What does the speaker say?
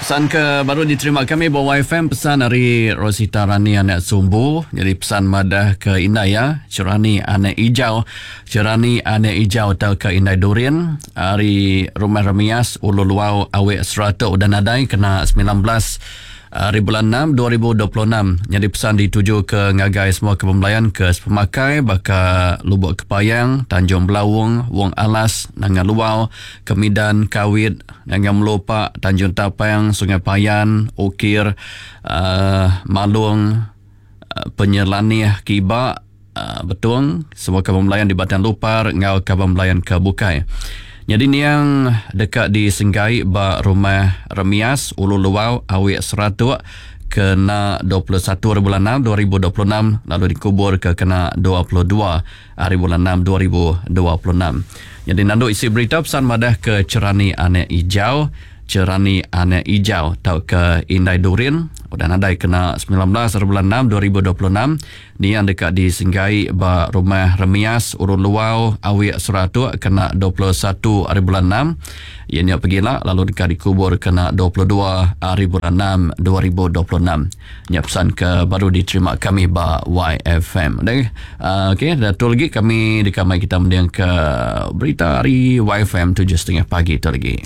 Pesan ke baru diterima kami ba YFM pesan ari Rosita Rani anak Sumbu jadi pesan madah ke indai iya Cerani anak Ijau Cerani anak Ijau tauka indai Durin ari Rumah Remias Ulu Luau Awik Seratok udah nadai kena 19 Ari bulan 6 2026 nyadi pesan dituju ke ngagai semua ke bemelayan ke sepemakai baka Lubok Kepayang, Tanjung Belaung, Wong Alas, Nanga Luau, Kemidan, Kawit, Nanga Melupa, Tanjung Tapang, Sungai Payan, Ukir, uh, Malung, uh, Penyelanih Kiba, uh, Betong, semua kaban belayan di Batang Lupar enggau kaban belayan ke bukai. Nyadi niang deka disenggai ba Rumah Remias, Ulu Luau, Awik Seratok kena 21 hari bulan 6 2026 lalu dikubur ke kena 22 hari bulan 6 2026. Nyadi nandu isi berita pesan madah ke Cerani Anak Ijau, Cerani Anak Ijau tauka Indai Durin udah nadai kena 19 hari bulan 6 2026 Niang deka disenggai ba Rumah Remias, Urun Luau, Awik Seratok kena 21 hari bulan 6 iya nya pegila lalu deka dikubur kena 22 hari bulan 6 2026. Nya pesan ke baru diterima kami ba YFM. Dan uh, okey, dah tu lagi kami deka mai kita mending ke berita hari YFM 7.30 pagi tu lagi.